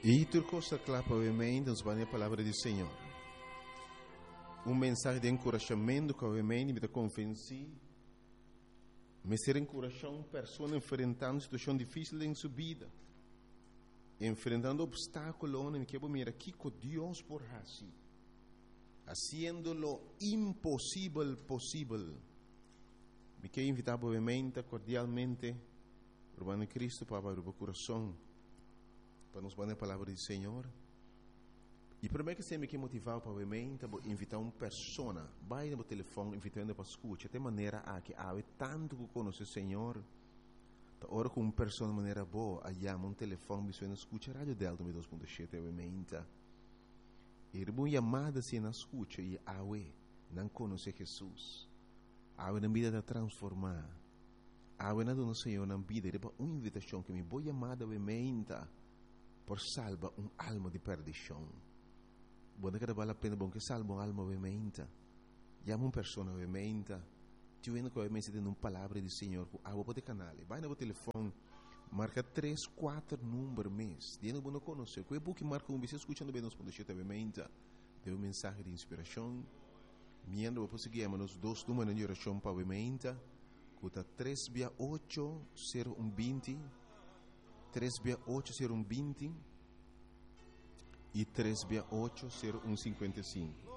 I tur kos ta kla pa awe nos bai na e palabra di Señor. Un mensahe di enkurashamentu ku awe mi ta konvensí mester enkurashá un persona enfrentando situashon difísil den su bida, enfrentando opstákulonan. Mi ke bo mira kiko Dios por hasi, hasiendo lo imposibel posibel. Mi ke invitá bo kordialmente, ruman den Kristu, pa habri bo kurason pa nos bai na e palabra di Señor. I promé ku esei mi ke motivá bo pa obviamente bo invitá un persona, bai na bo telefòn invitando pa skucha. Te manera aki awe tantu ku konosé Señor, ta ora ku un persona manera bo a yama un telefòn bisa na skucha Radio Delta 2.7 obviamente. I riba un yamada asina nan skucha i awe nan konosé Hesus. Awe nan bida ta transformá. Awe nan duna Señor nan bida riba un invitashon ku mi bo yamada obviamente por salba un alma di perdishon. Bo no keda bal la pena, bo no ke salba un alma obviamente. Yama un persona obviamente. Tin hende ku obviamente tende un palabra di Señor ku abo por te kanal. Bai na bo telefòn, marka tres, kuater number mes. Di hende ku bo no konosé. Ku e buki marka un bes skucha no 2.7 obviamente. Den un mensahe di inspirashon. Mientras bo por sigui yama nos dos numbernan di orashon pa obviamente, ku ta tres bia ocho sero un binti, tres bia ocho sero un binti i tres bia ocho sero un sinkuenta i sinku.